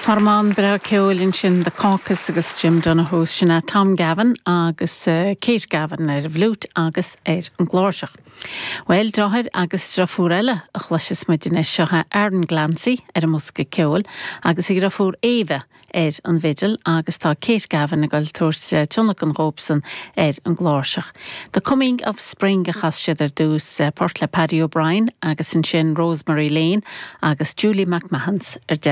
Tormán breá ceoil ansin, The Caucus agus Jim Donohoe, sin é Tom Gavin agus Kate Gavin ar an bhfliúit agus ar an gcláirseach. Bhuel, deartháir agus deirfiúr eile a chloisfeas muid anois, seo é Aaron Glancy ar an mbosca ceoil agus a dheirfiúr Ava ar an bhfidil agus tá Kate Gavin ag dul tabhairt tionlacan dhóibhsan ar an gcláirseach. The Coming of Spring a chas siad ar dtús, port le Paddy O'Brien agus ansin Rosemary Lane agus Julie McMahons ar deireadh.